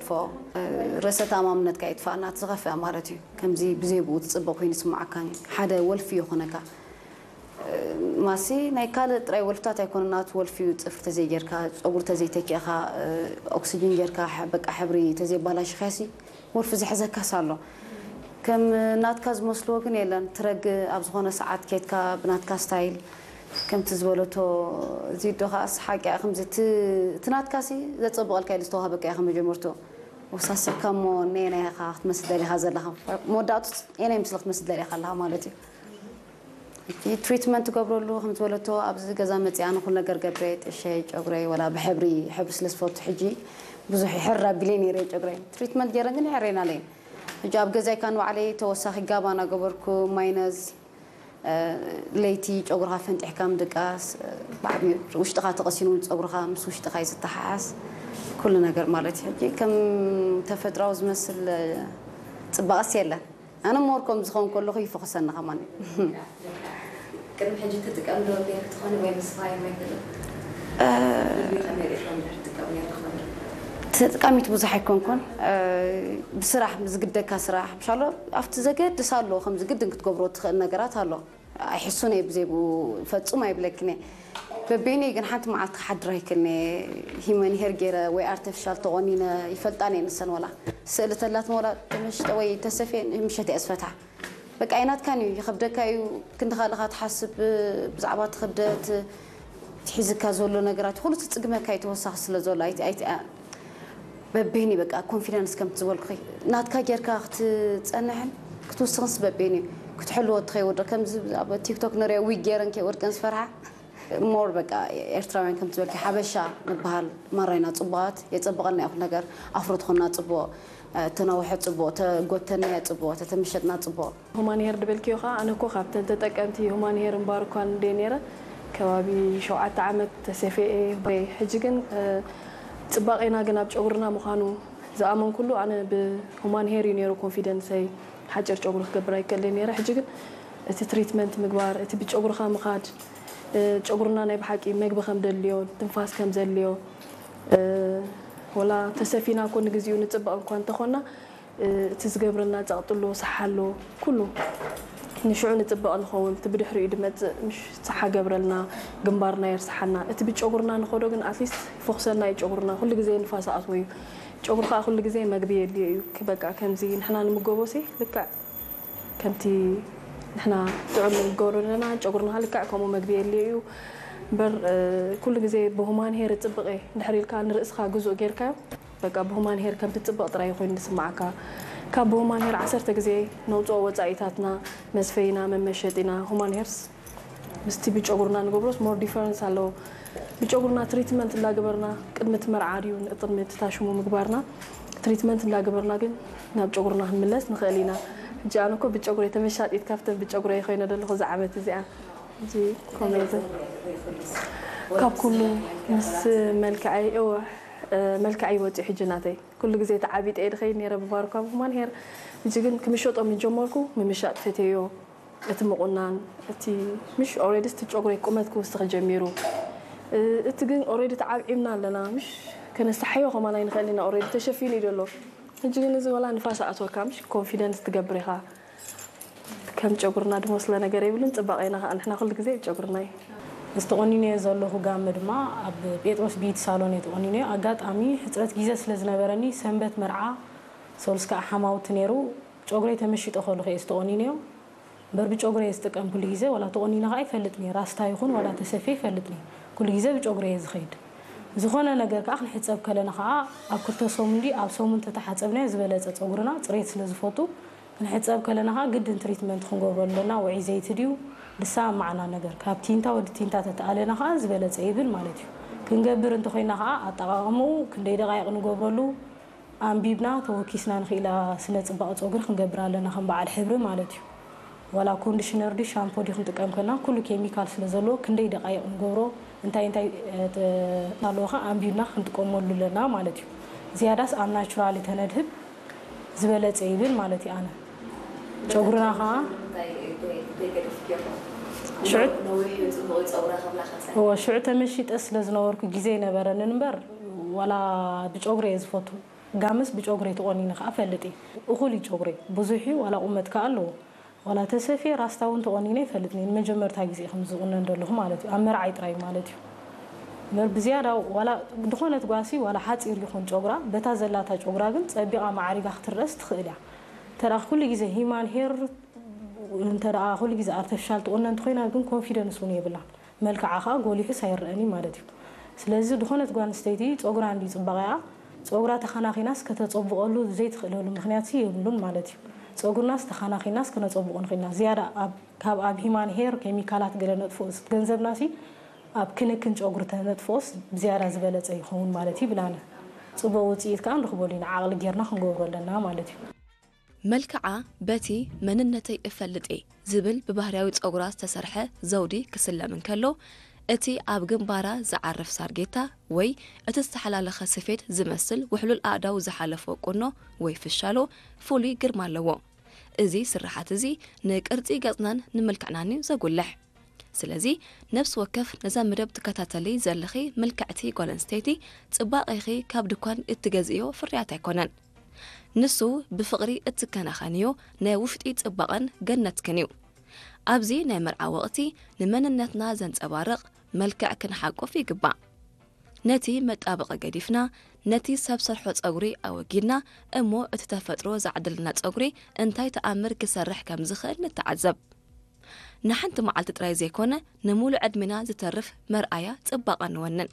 ፎ ርእሰ ተኣማምነትካ ይጥፋእ ናት ዝኸፍአ ማለት እዩ። ከምዚ ብዘይ ብኡ ትጽበ ኮይኑ ይስምዓካ። ሓደ ወልፊ ይኾነካ። ማሲ ናይ ካልእ ጥራይ ወልፍታት ኣይኮነ ናት ወልፊ እዩ። ጽፍሪ ተዘይጌርካ፣ ጸጉሪ ተዘይተኪእኻ፣ ኦክሲጅን ጌርካ፣ በቃ ሕብሪ ተዘይባላሽኻሲ ወልፊ ዝሕዘካስ ኣሎ። ከም ናትካ ዝመስልዎ ግን የለን። ትረግ ኣብ ዝኾነ ሰዓት ኬትካ ብናትካ ስታይል ከምቲ ዝበለቶ እዚዶ ከኣስ ሓቂ እያ። ከምዚ እቲ ናትካሲ ዘጸብቐልካ ኢሉ ዝተዋህበካ እያ ከመጀመርቶ ወሳሰካ እሞ ነየናይ ኢኻ ክትመስል ደሊኻ ዘለኻ? መወዳእቱ የናይ ምስሊ ክትመስል ደሊኻ ኣለኻ ማለት እዩ። እቲ ትሪትመንት ትገብረሉ ከም ዝበለቶ ኣብዚ ገዛ መፅኣ ንኩሉ ነገር ገብረ ጥሸይ ጨጉረይ ወላ ብሕብሪ ሕብሪ ስለ ዝፈቱ ሕጂ ብዙሕ ይሕር ኣቢለይ ነይረ ጨጉረይ ትሪትመንት ገይረን ግን ይሕረይና ኣለይን። ሕጂ ኣብ ገዛይ ካን ባዕለይ ተወሳኺ ጋባ እናገበርኩ ማይነዝ ለይቲ ጨጉርኻ ፈንጢሕካ ምድቃስ ብዓብዩ ውሽጥኻ ተቐሲኑ እውን ጸጉርኻ ምስ ውሽጥኻ ይዝተሓሓዝ ኩሉ ነገር ማለት እዩ። ሕጂ ከም ተፈጥራዊ ዝመስል ጽባቐስ የለን። ኣነ ሞር ከም ዝኸውን ከለኹ ይፈኹሰኒ ከማን እዩ። ቅድሚ ሕጂ ትጥቀም ዶ ጌርክ ትኾኒ ወይ ምስ ፋይም ኣይትብል? ቪድዮ ከመይ ርኢኻ እንድሕር ትጥቀም ጌርክ ትኾኒ? ተጠቃሚት ብዙሕ ኣይኮንኩን። ብስራሕ ዝግደካ ስራሕ ምሻሎ ኣብቲ ዘገድስ ኣለዎ ከምዚ ግድን ክትገብሮ ትኽእል ነገራት ኣሎ። ኣይሕሱን እየ ብዘይ ብኡ ፈጹም ኣይብለክን እየ። በበይነይ ግን ሓንቲ መዓልቲ ክሓድር ኣይክእልን እየ። ሂመን ሄር ገይረ ወይ ኣርተፊሻል ተቖኒነ ይፈልጣን እየ ንሰን ወላ ስእሊ ተላትን ወላ ተመሽጠ ወይ ተሰፍየ ምሸት እየ ዝፈትሓ። በቃ ኣይናትካን እዩ ይኸብደካ እዩ ክንዲ ካልእኻ ትሓስብ ብዛዕባ እቲ ክብደት እቲ ሒዝካ ዘሎ ነገራት ኩሉ ትጽግመካ እዩ ተወሳኺ ስለ ዘሎ ኣይት- ኣይት- በበይኒ በቃ ኮንፊደንስ ከምቲ ዝበልኩኺ ናትካ ጌርካ ክትጸንሕን ክትውስኽንስ በበይኒ እዩ ክትሕልዎ እቲ ከይወድቕ ከምዚ ኣብ ቲክቶክ ንሪኦ ዊግ ገይረን ከይወድቀን ዝፈርሓ ሞር በቃ ኤርትራውያን ከምቲ ዝበልኪ ሓበሻ ንበሃል ማራ ኢና ጽቡቓት የጸብቐና እዩ ኩሉ ነገር ኣፍሮ ትኾንና ጽቡቕ ተናውሐ ጽቡቕ ተጎተናዮ ጽቡቕ ተተመሸጥና ጽቡቕ። ሁማን ሄር ድበልክዮ ኸዓ ኣነ እኮ ካብተን ተጠቀምቲ ሁማን ሄር እምበኣር እኳ እንድየ ነይረ ከባቢ ሸውዓተ ዓመት ተሰፍየ እየ። ሕጂ ግን ፅባቄና ግን ኣብ ጨጉርና ምዃኑ ዝኣመንኩሉ ኣነ ብ ሁማን ሄር እዩ ነይሩ ኮንፊደንሰይ። ሓጭር ጨጉሪ ክገብር ኣይክእልን እየ ነይረ። ሕጂ ግን እቲ ትሪትመንት ምግባር፣ እቲ ብጨጉርኻ ምኻድ፣ ጨጉርና ናይ ብሓቂ መግቢ ከም ደልዮ፣ ትንፋስ ከም ዘድልዮ፣ ወላ ተሰፊና እኮ ንግዚኡ ንፅበቕ እኳ እንተኾና እቲ ዝገብረልና ጸቕጢ ኣሎ፣ ሰሓ ኣሎ፣ ኩሉ ንሽዑ ንጽበቕ ንኸውን፣ እቲ ብድሕሪኡ ድመጽእ ምሽ ሰሓ ገብረልና፣ ግንባርና የርሰሓና። እቲ ብጨጉርና ንኸዶ ግን ኣትሊስት ይፈኹሰልና እዩ ጨጉርና፣ ኩሉ ግዜ ንፋስ ኣእትዎ እዩ። ጨጉሪ ከኣ ኩሉ ግዜ መግቢ የድልዮ እዩ። በቃ ከምዚ ንሕና ንምገቦሲ ልክዕ ከምቲ ንሕና ጥዑም ንገብሮ ዘለና ጨጉርና ከኣ ልክዕ ከምኡ መግቢ የድልዮ እዩ። እምበር ኩሉ ግዜ ብሁማን ሄር እጽብቕ እየ እንድሕር ኢልካ ንርእስኻ ግዙእ ጌርካዮ በቃ ብሁማን ሄር ከም ትጽበቕ ጥራይ ኮይኑ ዝስምዓካ። ካብ ብሁማን ሄር ዓሰርተ ግዜ ነውጽኦ ወጻኢታትና፣ መስፈይና፣ መመሸጢና፣ ሁማን ሄርስ ምስቲ ብጨጉርና ንገብሮስ more difference ኣለዎ። ብጨጉርና ትሪትመንት እንዳገበርና ቅድሚ እቲ መርዓ ድዩ ቅድሚ እቲ ታሽሙ ምግባርና ትሪትመንት እንዳገበርና ግን ናብ ጨጉርና ክንምለስ ንኽእል ኢና። ሕጂ ኣነ እኮ ብጨጉረይ ተመሻጢት ካብተን ብጨጉረይ ኮይነ ዘለኹ እዛ ዓመት እዚኣ። ሕጂ ኮሜንት ካብ ኩሉ ምስ መልክዐይ እወ መልክዐይ ወፂኡ ሕጂ ናተይ ኩሉ ግዜ ተዓቢጠ እየ ድኸይድ ነይረ ብባርኳ ብሁማን ሄር። ሕጂ ግን ክምሸጦ ምስ ጀመርኩ ምምሻጥ ፈትየዮ። እቲ ምቑናን እቲ ምሽ ኦሬዲ እቲ ጨጉረይ ቁመት ክውስኽ ጀሚሩ። እቲ ግን ኦሬዲ ተዓብዒብና ኣለና ምሽ ከነስተሓዮ ከማን ኣይንኽእል ኢና ኦሬዲ ተሸፊኑ እዩ ዘሎ። ሕጂ ግን እዚ ወላ ንፋስ ኣእትወካ ምሽ ኮንፊደንስ ትገብር ኢኻ። ከም ጨጉርና ድመስሎ ነገር የብሉን፣ ጽባቐና ከኣ ንሕና ኩሉ ግዜ ጨጉርና እዩ። እዚ ተቖኒነዮ ዘለኹ ጋመ ድማ ኣብ ጴጥሮስ ቢዩቲ ሳሎን እየ ተቖኒነዮ። ኣጋጣሚ ሕጽረት ግዜ ስለ ዝነበረኒ ሰንበት መርዓ ሰሉስ ከኣ ሓማውቲ ነይሩ። ጨጉረይ ተመሺጡ ከለኹ እየ እዚ ተቖኒነዮ። እምበር ብጨጉረ እየ ዝጥቀም ኩሉ ግዜ፣ ዋላ ተቖኒነ ከኣ ይፈልጥኒ፣ ራስታ ይኹን ዋላ ተሰፍየ ይፈልጥኒ። ኩሉ ግዜ ብጨጉረ እየ ዝኸይድ። ዝኾነ ነገር ከኣ ክንሕጸብ ከለና ከኣ ኣብ ክልተ ሰሙን ድዩ ኣብ ሰሙን ተተሓጸብናዮ ዝበለጸ ጸጉርና ጽሬት ስለ ዝፈቱ ክንሕጸብ ከለና ከኣ ግድን ትሪትመንት ክንገብረሉ ኣለና። ውዑይ ዘይቲ ድዩ ድሳ ኣብ ማዕና ነገር ካብ ቲንታ ወዲ ቲንታ ተተኣለና ከኣ ዝበለጸ ይብል ማለት እዩ። ክንገብር እንተኾይና ከኣ ኣጠቓቕምኡ ክንደይ ደቓይቕ ንገብረሉ ኣንቢብና ተወኪስና ንኽኢላ ስነ ጽባቐ ጸጉሪ ክንገብር ኣለና ከም በዓል ሕብሪ ማለት እዩ። ዋላ ኮንዲሽነር ድዩ ሻምፖ ድዩ ክንጥቀም ከለና ኩሉ ኬሚካል ስለ ዘለዎ ክንደይ ደቓይቕ ንገብሮ እንታይ እንታይ ኣለዎ ከ ኣንቢብና ክንጥቀመሉ ኣለና ማለት እዩ። ዝያዳስ ኣብ ናቹራሊ ተነድህብ ዝበለጸ ይብል ማለት እዩ ኣነ ጨጉርና ከኣ ሽዑ ተመሺጠ ስለ ዝነበርኩ ግዜ ኣይነበረንን እምበር ዋላ ብጨጉሪ እየ ዝፈቱ። ጋመስ ብጨጉረይ ተቆኒነ ከዓ ፈልጥ እየ። እኹል እዩ ጨጉረይ፣ ብዙሕ እዩ፣ ዋላ ቁመት ከዓ ኣለዎ። ዋላ ተሰፊየ ራስታ እውን ተቆኒነ ይፈልጥ እየ። ንመጀመርታ ግዜ ከም ዝቁነን ዘለኹ ማለት እዩ፣ ኣብ መርዓይ ጥራይ ማለት እዩ። እምበር ብዝያዳ ዋላ ድኾነት ጓሲ ዋላ ሓፂር ይኹን ጨጉራ፣ በታ ዘላታ ጨጉራ ግን ፀቢቓ ማዕሪጋ ክትረስ ትኽእል እያ። እንተ ደኣ ኩሉ ግዜ ሂማን ሄር እንተ ደኣ ኩሉ ግዜ ኣርተፊሻል ትቆነን እንተኾይና ግን ኮንፊደንስ እውን የብላን። መልክዓ ከዓ ጎሊሑስ ኣይረኣን እዩ ማለት እዩ። ስለዚ ዝኾነት ጓል ኣንስተይቲ ጸጉራ እንድዩ ጽባቐኣ፣ ጸጉራ ተኸናኺናስ ከተጸብቐሉ ዘይትኽእለሉ ምኽንያትሲ የብሉን ማለት እዩ። ጸጉርናስ ተኸናኺናስ ከነጸብቖ ንኽእልና። ዝያዳ ኣብ፣ ካብ ኣብ ሂማን ሄር ኬሚካላት ገለ ነጥፍኦስ ገንዘብናሲ ኣብ ክንክን ጨጉሪ ተነጥፍኦስ ብዝያዳ ዝበለጸ ይኸውን ማለት እዩ ብላነ። ጽቡቕ ውጽኢት ከዓ ንረኽበሉ ኢና፣ ዓቕሊ ጌርና ክንገብሮ ኣለና ማለት እዩ። መልክዓ በቲ መንነተይ እፈልጥ እየ ዝብል ብባህርያዊ ጸጉራ ዝተሰርሐ ዘውዲ ክስለም እንከሎ፣ እቲ ኣብ ግንባራ ዝዓርፍ ሳርጌታ ወይ እቲ ዝተሓላለኸ ስፌት ዝመስል ውሕሉል ኣእዳው ዝሓለፎ ቁኖ ወይ ፍሻሎ ፍሉይ ግርማ ኣለዎ። እዚ ስርሓት እዚ ንቅርጺ ገጽናን ንምልክዕናን እዩ ዘጉልሕ። ስለዚ ነፍሲ ወከፍ ነዛ መደብ ትከታተሊ ዘለኺ ምልክዕቲ ጓል ኣንስተይቲ ጽባቐኺ ካብ ድኳን እትገዝእዮ ፍርያት ኣይኮነን። ንሱ ብፍቕሪ እትከናኸንዮ ናይ ውሽጢ ጽባቐን ገነትክን እዩ። ኣብዚ ናይ መርዓ ወቕቲ ንመንነትና ዘንጸባርቕ መልክዕ ክንሓቁፍ ይግባእ። ነቲ መጣበቒ ገዲፍና ነቲ ሰብ ሰርሖ ጸጉሪ ኣወጊድና እሞ እቲ ተፈጥሮ ዝዓደለና ጸጉሪ እንታይ ተኣምር ክሰርሕ ከም ዝኽእል ንተዓዘብ። ንሓንቲ መዓልቲ ጥራይ ዘይኮነ ንሙሉእ ዕድሜና ዝተርፍ መርኣያ ጽባቐ ንወንን።